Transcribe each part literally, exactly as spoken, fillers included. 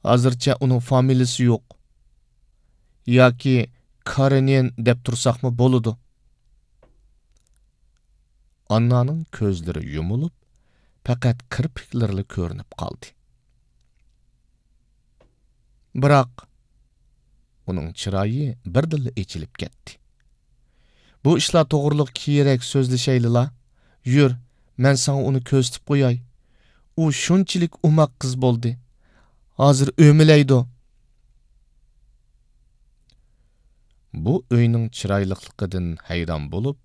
ھازىرچە ئۇنىڭ فامىلىسى يوق. ياكى كارېنىن دەپ تۇرساقمۇ بولىدۇ. ئاننانىڭ كۆزلىرى يۇمۇلۇپ، پەقەت كىرپىكلىرىلا كۆرۈنۈپ قالدى. بىراق، ئۇنىڭ چىرايى بىردىنلا ئېچىلىپ كەتتى. بۇ ئىشلار توغرىلىق كېيىنرەك سۆزلىشەيلىلا. يۈر، مەن ساڭا ئۇنى كۆرسىتىپ قوياي. ئۇ شۇنچىلىك ئوماق قىز بولدى. ھازىر ئۆمىلەيدۇ. بۇ ئۆينىڭ چىرايلىقلىقىدىن ھەيران بولۇپ،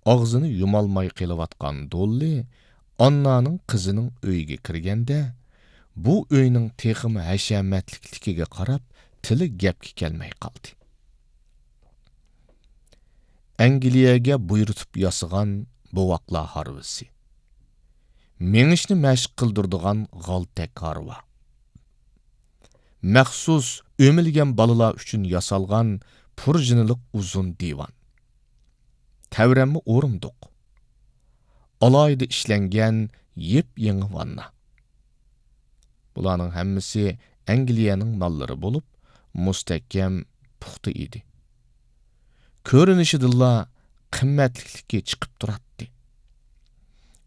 ئاغزىنى يۇمالماي قېلىۋاتقان دوللى ئاننانىڭ قىزىنىڭ ئۆيىگە كىرگەندە، بۇ ئۆينىڭ تېخىمۇ ھەشەمەتلىكلىكىگە قاراپ، تىلى گەپكە كەلمەي قالدى. ئەنگلىيەگە بۇيرۇتۇپ ياسىغان بوۋاقلار ھارۋىسى. مېڭىشنى مەشىق قىلدۇرىدىغان غالتەك ھارۋا. مەخسۇس ئۆمىلىگەن بالىلار ئۈچۈن ياسالغان پۇرژىنىلىق ئۇزۇن دىۋان. تەۋرەنمە ئورۇندۇق. ئالاھىدە ئىشلەنگەن يېپيېڭى ۋاننا. بۇلارنىڭ ھەممىسى ئەنگلىيەنىڭ ماللىرى بولۇپ، مۇستەھكەم، پۇختا ئىدى. كۆرۈنۈشىدىنلا قىممەتلىكلىكى چىقىپ تۇراتتى.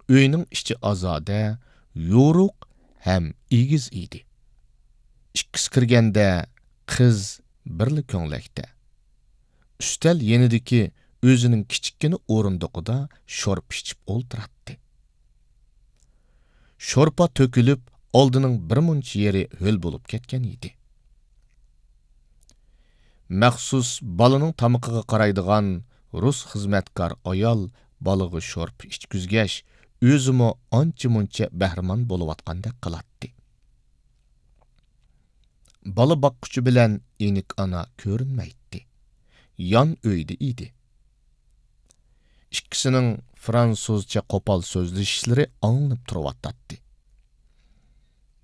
ئۆينىڭ ئىچى ئازادە، يورۇق ھەم ئېگىز ئىدى. ئىككىسى كىرگەندە قىز بىرلا كۆڭلەكتە. ئۈستەل يېنىدىكى ئۆزىنىڭ كىچىككىنە ئورۇندۇقىدا شورپا ئىچىپ ئولتۇراتتى. شورپا تۆكۈلۈپ، ئالدىنىڭ بىر مۇنچە يېرى ھۆل بولۇپ كەتكەن ئىدى. مەخسۇس بالىنىڭ تامىقىغا قارايدىغان رۇس خىزمەتكار ئايال بالىغا شورپا ئىچكۈزگەچ، ئۆزىمۇ ئانچە-مۇنچە بەھرىمەن بولۇۋاتقاندەك قىلاتتى. بالا باققۇچى بىلەن ئېنىك ئانا كۆرۈنمەيتتى. يان ئۆيدە ئىدى. ئىككىسىنىڭ فرانسۇزچە قوپال سۆزلىشىشلىرى ئاڭلىنىپ تۇرۇۋاتاتتى.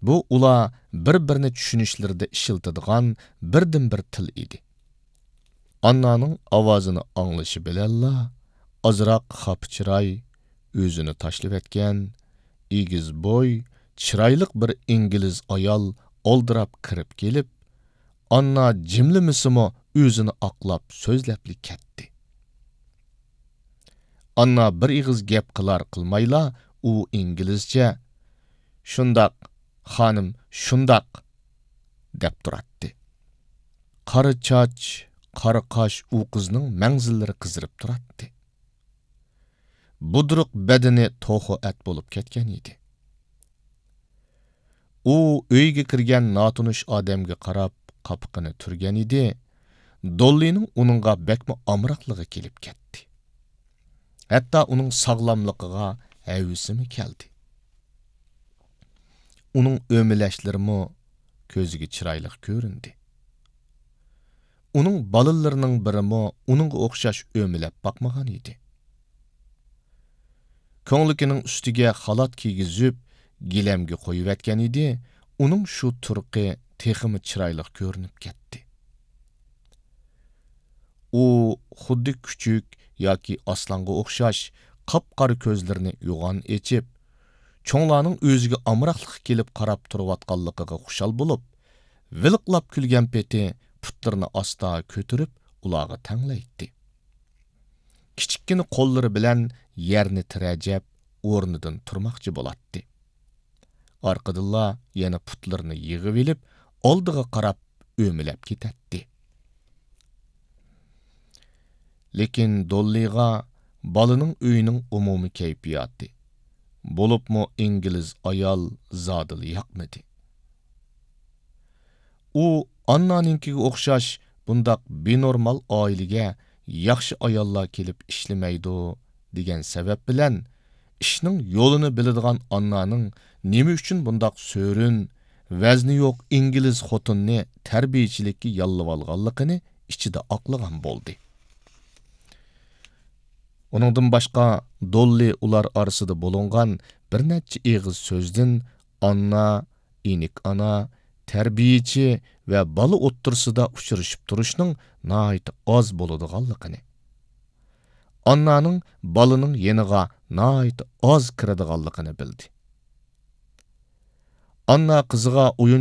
بۇ ئۇلار بىر-بىرىنى چۈشىنىشلىرىدە ئىشلىتىدىغان بىردىنبىر تىل ئىدى. ئاننانىڭ ئاۋازىنى ئاڭلىشى بىلەنلا، ئازراق خاپا چىراي، ئۆزىنى تاشلىۋەتكەن، ئېگىز بوي، چىرايلىق بىر ئىنگلىز ئايال ئالدىراپ كىرىپ كېلىپ، ئاننا جىملىمىسىمۇ ئۆزىنى ئاقلاپ سۆزلەپلا كەتتى. ئاننا بىر ئېغىز گەپ قىلار قىلمايلا، ئۇ ئىنگلىزچە، «شۇنداق، خانىم، شۇنداق» دەپ تۇراتتى. قارا چاچ، قارا قاش ئۇ قىزنىڭ مەڭزىلىرى قىزىرىپ تۇراتتى. بۇدرۇق بەدىنى توخۇ ئەت بولۇپ كەتكەن ئىدى. ئۇ ئۆيگە كىرگەن ناتونۇش ئادەمگە قاراپ قاپىقىنى تۈرگەن ئىدى، دوللىنىڭ ئۇنىڭغا بەكمۇ ئامراقلىقى كېلىپ كەتتى. ھەتتا ئۇنىڭ ساغلاملىقىغا ھەۋىسىمۇ كەلدى. ئۇنىڭ ئۆمىلەشلىرىمۇ كۆزىگە چىرايلىق كۆرۈندى. ئۇنىڭ بالىلىرىنىڭ بىرىمۇ ئۇنىڭغا ئوخشاش ئۆمىلەپ باقمىغان ئىدى. كۆڭلىكىنىڭ ئۈستىگە خالات كىيگۈزۈپ، گىلەمگە قويۇۋەتكەن ئىدى، ئۇنىڭ شۇ تۇرقى تېخىمۇ چىرايلىق كۆرۈنۈپ كەتتى. ئۇ خۇددى كۈچۈك ياكى ئاسلانغا ئوخشاش قاپقارا كۆزلىرىنى يوغان ئېچىپ، چوڭلارنىڭ ئۆزىگە ئامراقلىقى كېلىپ قاراپ تۇرۇۋاتقانلىقىغا خۇشال بولۇپ، ۋىلىقلاپ كۈلگەن پېتى پۇتلىرىنى ئاستا كۆتۈرۈپ، ئۇلارغا تەڭلەيتتى. كىچىككىنە قوللىرى بىلەن يەرنى تىرەجەپ، ئورنىدىن تۇرماقچى بولاتتى. ئارقىدىنلا يەنە پۇتلىرىنى يىغىۋېلىپ، ئالدىغا قاراپ ئۆمىلەپ كېتەتتى. لېكىن دوللىغا بالىنىڭ ئۆيىنىڭ ئومۇمىي كەيپىياتى، بولۇپمۇ ئىنگلىز ئايال زادىلا ياقمىدى. ئۇ ئاننانىڭكىگە ئوخشاش بۇنداق بىنورمال ئائىلىگە ياخشى ئاياللار كېلىپ ئىشلىمەيدۇ دېگەن سەۋەب بىلەن، ئىشنىڭ يولىنى بىلىدىغان ئاننانىڭ نېمە ئۈچۈن بۇنداق سۆرۈن، ۋەزنى يوق ئىنگلىز خوتۇننى تەربىيىچىلىككە ياللىۋالغانلىقىنى ئىچىدە ئاقلىغان بولدى. ئۇنىڭدىن باشقا، دوللى ئۇلار ئارىسىدا بولۇنغان بىر نەچچە ئېغىز سۆزدىن ئاننا، ئېنىك ئانا، تەربىيىچى ۋە بالا ئوتتۇرىسىدا ئۇچرىشىپ تۇرۇشنىڭ ناھايىتى ئاز بولىدىغانلىقىنى، ئاننانىڭ بالىنىڭ يېنىغا ناھايىتى ئاز كىرىدىغانلىقىنى بىلدى. ئاننا قىزىغا ئويۇن